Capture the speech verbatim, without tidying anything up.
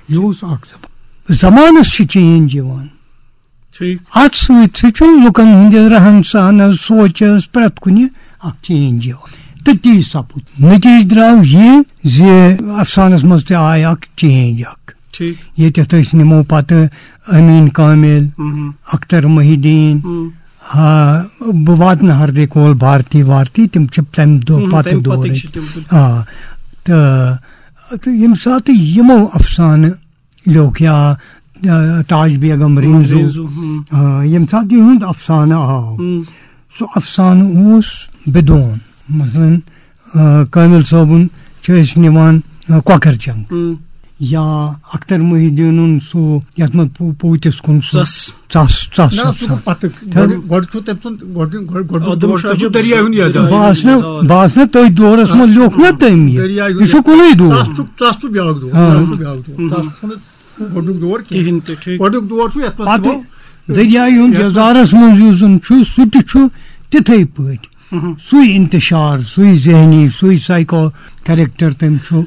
یہِ اوس اکھ زمان۔ زمانس چھِ چینج یِوان۔ ٹھیٖک۔ اتھ سۭتۍ سۭتۍ چھُ لُکن ہٕنٛدِس رہن سہنس، سونچس، پرٛٮ۪تھ کُنہِ اکھ چینج یِوان۔ تہٕ تی سپُد۔ نتیجہٕ درٛاو یہِ زِ افسانس منٛز تہِ آیہِ اکھ چینج اکھ۔ ٹھیٖک۔ ییٚتٮ۪تھ أسۍ نِمو پتہٕ امین کامل، مہم۔ اختر محی الدین، مم۔ آ، بہٕ واتہٕ نہٕ ہردے کول بھارتی وارتی، تِم چھِ تمہِ دۄہ مہم، پتہٕ تَمہِ دورٕکۍ۔ پتٕکۍ چھِ تِم۔ آ، تہٕ تہٕ ییٚمہِ ساتہٕ یِمو افسانہٕ لیوٚکھ یا، آ، تاج بیگم رینزو، رینزو، ہم۔ آ، ییٚمہِ ساتہٕ یِہُنٛد افسانہٕ آو، ہم۔ سُہ افسانہٕ اوس بدون۔ مثلاً، آ، کامل صٲبُن چھِ أسۍ نِوان، آ، کۄکر جنگ، ہم۔ یا اختر محی الدینُن سُہ یتھ منٛز پو-، پوٗتِس کُن سُہ ژَس۔ ژَس، ژَس، نہ، ژَس، سُہ گوٚو ژَس۔ پتہٕ۔ تھَو۔ گۄڈٕ، گۄڈٕ چھُ تٔمۍ سُنٛد، گۄڈٕ، گۄڈٕ، گۄڈٕ آدم دور شاہ چھُ جب دریا ہُنٛد یہِ دریا زمانہٕ۔ بہٕ آس نہٕ، بہٕ آس نہٕ تٔتھۍ دورس منٛز لیوٚکھ نہ تٔمۍ یہِ۔ دریا یہِ چھُ کُنُے دور۔ تَس چھُ، تَس تہٕ بیٛاکھ دور، آ۔ تَس تہٕ بیٛاکھ دور۔ تَس چھُنہٕ گۄڈٕنیُک دور کینٛہہ۔ کِہیٖنۍ تہِ، ٹھیٖک۔ گۄڈٕنیُک دور چھُ یَتھ منٛز پتہٕ تِمو دریایہِ ہُنٛد یَتھ یزارس منٛز یُس زن چھُ، سُہ تہِ چھُ تِتھے پٲٹھۍ۔ مہم۔ سُے انتشار، سُے ذہنی، سُے سایکو کریکٹر تٔمۍ چھُ۔